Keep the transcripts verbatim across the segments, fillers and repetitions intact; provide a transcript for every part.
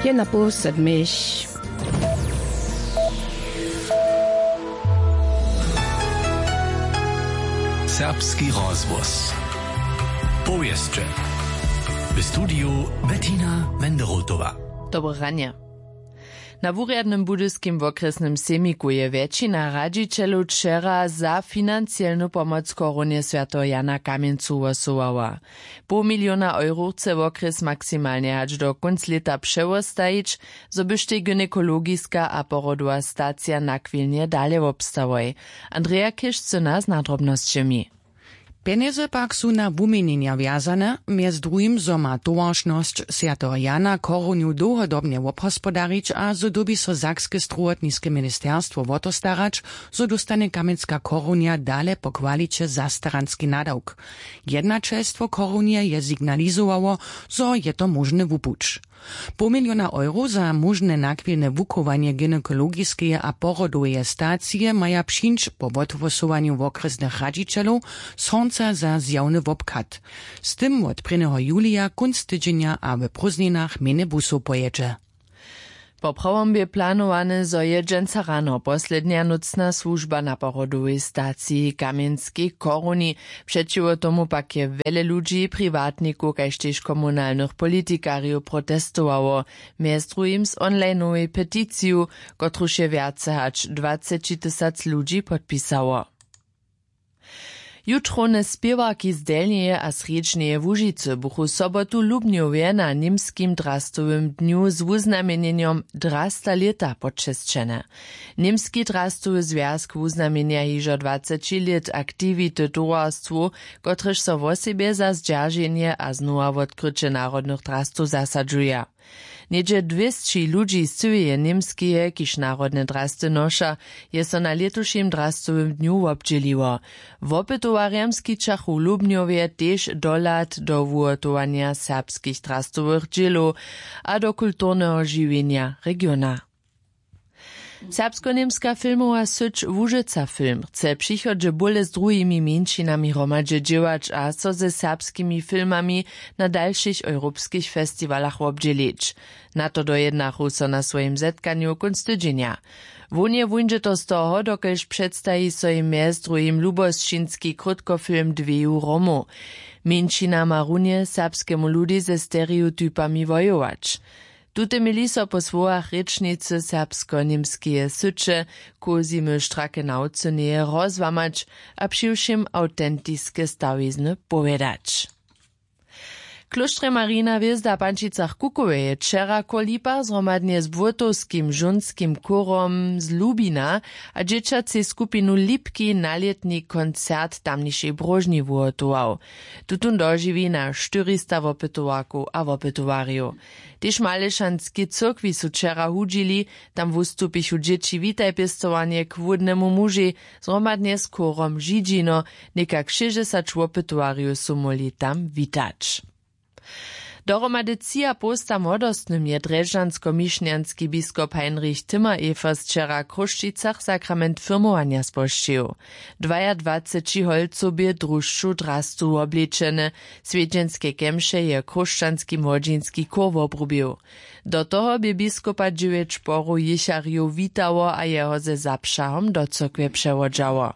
Je na poł sedmich. Serbski rozhłos. Powěsće. W studiju Bettina Wenderotowa. Dobre ranje. Na wurjadnym budyskim wokrjesnym sejmiku je wjetšina radźićelow wčera za financielnu pomoc chorunje swjateho Jana Kamjencu hłosowała. Poł miliona euro chce wokrjes maksimalnje hač do kónc lěta přewostajić, zo byštej gynekologiska a porodowa stacija na chwilnje dale wobstałoj. Andrea Kišcyna z nadrobnosćemi. Pjenjezy pak su na wuměnjenja wjazane, mjez druhim zo ma towaršnosć swjateho Jana chorunju dołhodobnje wobhospodarić a zo dyrbi so sakske strowotniske ministerstwo wo to starać, zo dóstanje kamjenska chorunja dale po kwaliće zastaranski nadawk. Jednaćelstwo chorunje je signalizowało, zo je to móžny wupuć. Poł miliona euro za móžne nachwilne wuchowanje gynekologiskeje a porodoweje stacije maja přińć po wothłosowanju wokrjesnych radźićelow sąca za zjawny wobchad. Z tym wot prěnjeho julija kónc tydźenja a w prózdninach mjenje busow pojědźe. Po prawom bě planowane, zo je dźensa rano poslednja nócna słužba na porodowej staciji w kamjenskej choruni. Přećiwo tomu pak je wjele ludźi, priwatnikow kaž tež komunalnych politikarjow protestowało. Mjez druhim z onlinowej peticiju, kotruž je wjace hač dwaceći tysac ludźi podpisało. Jutrowne spěwarki z delnjeje a srjedźneje łužicy buchu sobotu w lubnjowje na němskim drastowym dnju z wuznamjenjenjom drasta lěta počesćene. Němski drastowy zwjazk wuznamjenja hižo dwaceći lět aktiwity towarstwow, kotrež so wosebje za zdźerženje a znowa wotkryće narodnych drastow zasadźuja. Něhdźe dwěsći ludźi z cyłeje němskeje kiž narodne drasty noša, je so na lětušim drastowym dnju wobdźěliło. Wopytowarjam skićachu w lubnjowje tež dohlad do wuhotowanja serbskich drastowych dźělow a do kulturneho žiwjenja regiona. Serbskoněmska filmowa syć łužica film chce w přichodźe bóle z druhimi mjeńšinami hromadźe dźěłać a so ze serbskimi filmami na dalšich europskich festiwalach wobdźělić. Na to dojednachu so na swojim zetkanju kónc tydźenja. Hłownje wuńdźe to z toho, dokelž předstaji so jim mjez druhim lubosćinski krótkofilm dweju romow. Mjeńšina ma runje serbskemu ludej ze stereotypami wojować. Tute měli so po słowach rěčnicy serbsko-němskeje syće Cosimy Strakenaucyneje rozłamać a přiwšěm awtentiske stawizny powědać. W klóštrje Marina hwězda w Pančicach Kukoweje wčera koło lipach zhromadnje z błótowskim žónskim chórom z Lubina a dźěćacej skupinu Lipki nalětni koncert w tamnišej bróžni wuhotował. Tutón dožiwi na štyrista wopytowarkow a wopytowarjow. Tež w Malyšanskej cyrkwi su wčera hudźili. Tam wustupichu dźěći Witaj pěstowarnje k hłódnemu mužej zhromadnje z chórom Židźino. Někak šěsćdźesać wopytowarjow su móhli tam witać. Dohromady třiapołsta młodostnym je drježdźansko-mišnjanski biskop Heinrich Timmer-Evers wčera w Chrósćicach sakrament firmowanja spožčił. Dwajadwaceći holcow bě drušću drastu woblečene. Swjedźenske kemše je chróšćanski młodźinski chór wobrubił. Do toho bě biskupa dźewjeć porow jěcharjow witało a jeho ze zapřahom do cyrkwje přewodźało.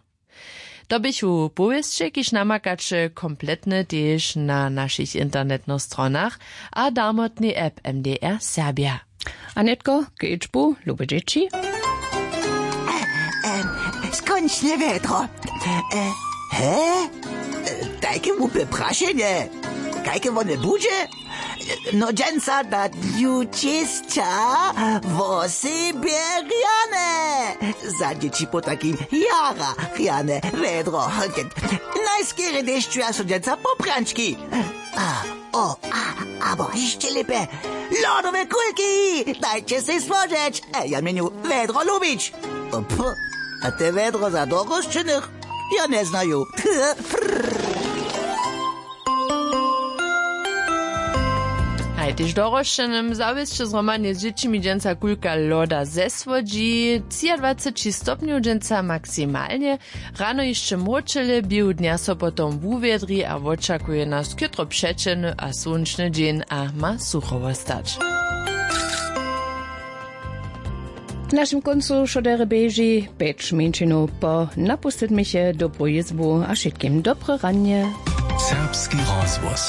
To běchu powěsće, kiž namakaće kompletne tež na našich internetnych stronach a darmotnej app M D R Serbja. A nětko k jědźbu, lube dźěći. Skónčnje wjedro. He? Tajke hłupje prašenje. Kajke wone budźe? No dźensa na dnju čěsća wosebje rjane. Za dźěći po takim jara rjane wjedro. Najskerje dešćuja so dźensa poprančki. A, o, a, abo hišće lěpje. Lodowe kulki. Dajće sej słožeć. E, ja měnju wjedro lubić. Pff, a te wjedro za dorosćenych? Ja njeznaju. Haj, tež dorosćenym zawěsće zhromadnje z dźěćimi dźensa kulka loda zesłodźi. Třiadwaceći stopnjow dźensa maksimalnje. Rano hišće mróčele, běhu dnja so potom wuwjedri a wočakuje nas chětro přećelny a słónčny dźeń a ma sucho wostać. W našim kóncu wšo derje běži pjeć mjeńšinow po. Napustit měće dobru jězbu a wšitkim dobre ranje. Serbski rozhłos.